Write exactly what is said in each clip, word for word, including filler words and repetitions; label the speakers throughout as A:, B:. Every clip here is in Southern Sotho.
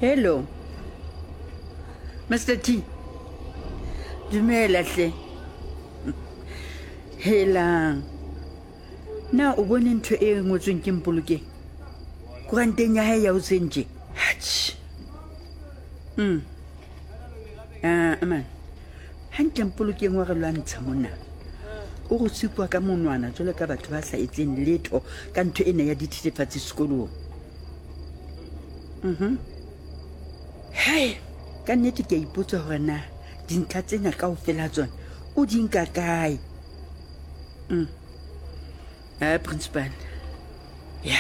A: Hello, Mister T. Dumela hle. Helang. Na o bone ntho e ngotsweng ke Mpolokeng? Koranteng ya hae ya hoseng tje. Atjhe. Mm. Ah, man. Hantle Mpolokeng wa re lwantsha mona. O re supa ka monwana jwalo ka batho ba sa etseng letho ka ntho ena ya dithethefatsi sekolong. Mhm. Hai, ka nnete ke a ipotsa hore na dintlha tsena kaofela tsona o di nka kae. Mm. Ah, principal. Ya,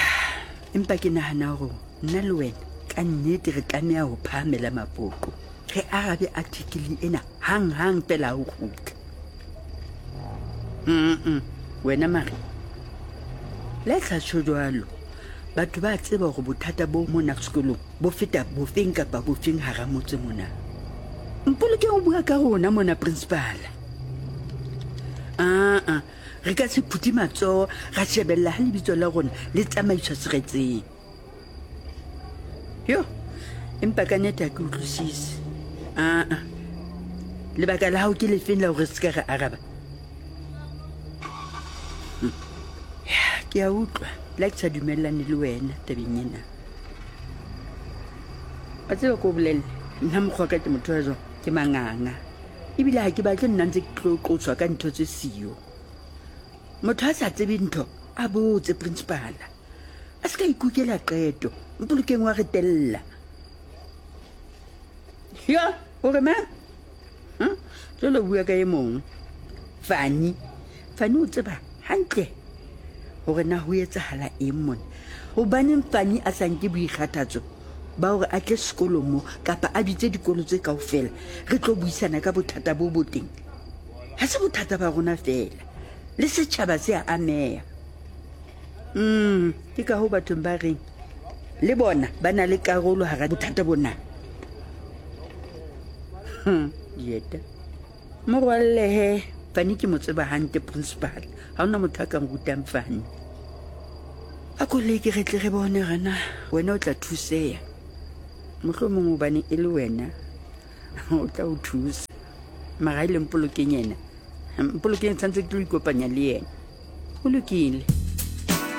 A: empa ke nahana hore nna le wena ka nnete re tlameha ho phahamela mapoqo. Re arabe article ena hang-hang fela ha o kgutla. Mm-mm. Wena mare, le tla tjho jwalo. Batho ba tseba hore bothata bo mona sekolong bo feta bofeng kapa bofeng hara motse mona. Mpolokeng o bua ka rona mona, principal. Ah, ah. Re ka se phuthe matsoho ra shebella ha lebitso la rona le tsamaiswa seretseng. Yo, empa ka nnete ha ke utlwisise. Ah, ah. Lebaka la hao ke lefeng la hore se ka re araba? Hmm. Ya, ke a utlwa. Le ha ke sa dumellane le wena tabeng ena. Wa tseba ko bolelle, nna mokgwa ka ke motho wa jwang, ke manganga. Ebile ha ke batle nna ntse ke tlo qoswa ka ntho tse siyo. Motho a sa tsebe ntho, a botse principal. A se ka ikukela qeto, Mpolokeng wa re tella. Yo, o re mang? Hm? Jwale o bua ka e mong. Fani. Fani o tseba hantle hore na ho etsahala eng mona. Hobaneng Fani a sa nke boikgathatso ba hore a tle sekolong mo kapa a bitse dikolo tse kaofela re tlo buisana ka bothata bo bo teng. Ha se bothata ba rona feela, le setjhaba se a ameha. Mm, ke ka hoo bathong ba reng le bona ba na le karolo hara bothata bona. Hmm, dieta. Morwalle he, Fani ke mo tseba hantle principal. Ha hona motho a ka nrutang Fani. A ko leke re tle re bone hore na wena o tla thuseha. Mohlomong hobane e le wena o tla o thusa. Mara ha e le Mpolokeng yena, Mpolokeng tshwanetse ke tlo ikopanya le yena. Ho lokile.